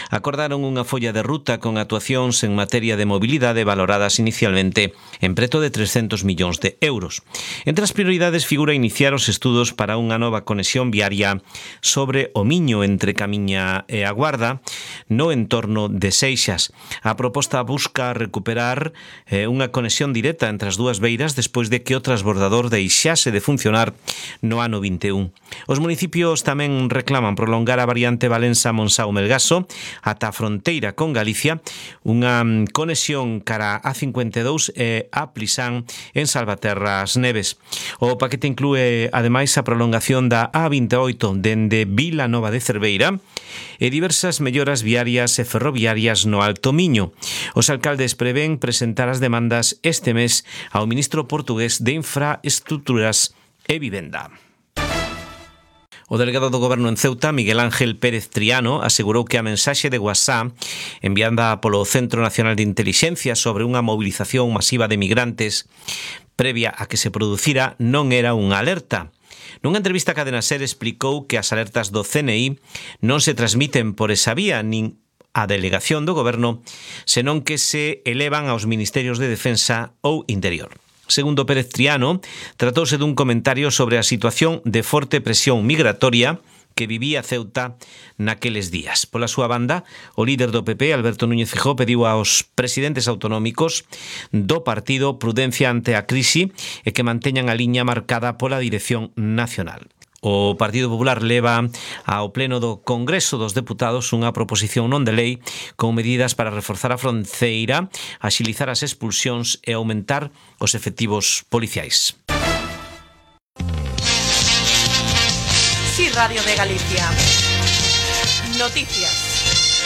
acordaron unha folla de ruta con actuacións en materia de mobilidade valoradas inicialmente en preto de 300 millóns de euros. Entre as prioridades figura iniciar os estudos para unha nova conexión viaria sobre o Miño entre Camiña e a Guarda no entorno de Seixas. A proposta busca recuperar unha conexión directa entre as dúas beiras despois de que o transbordador deixase de funcionar no ano 21. Os municipios tamén reclaman prolongar a variante Valença-Monsáu-Melgaso ata a fronteira con Galicia, unha conexión cara a 52 e a Plisán en Salvaterras Neves. O paquete inclúe, ademais, a prolongación da A28 dende Vila Nova de Cerveira e diversas melloras viarias e ferroviarias no Alto Miño. Os alcaldes prevén presentar as demandas este mes ao ministro portugués de Infraestructuras e Vivenda. O delegado do Goberno en Ceuta, Miguel Ángel Pérez Triano, asegurou que a mensaxe de WhatsApp enviada polo Centro Nacional de Intelixencia sobre unha movilización masiva de migrantes previa a que se producira non era unha alerta. Nunha entrevista a Cadena SER explicou que as alertas do CNI non se transmiten por esa vía nin a delegación do Goberno, senón que se elevan aos Ministerios de Defensa ou Interior. Segundo Pérez Triano, tratouse dun comentario sobre a situación de forte presión migratoria que vivía Ceuta naqueles días. Pola súa banda, o líder do PP, Alberto Núñez Feijóo, pediu aos presidentes autonómicos do partido prudencia ante a crise e que manteñan a liña marcada pola dirección nacional. O Partido Popular leva ao Pleno do Congreso dos Deputados unha proposición non de lei con medidas para reforzar a fronteira, axilizar as expulsións e aumentar os efectivos policiais. Sí, Radio de Galicia. Noticias.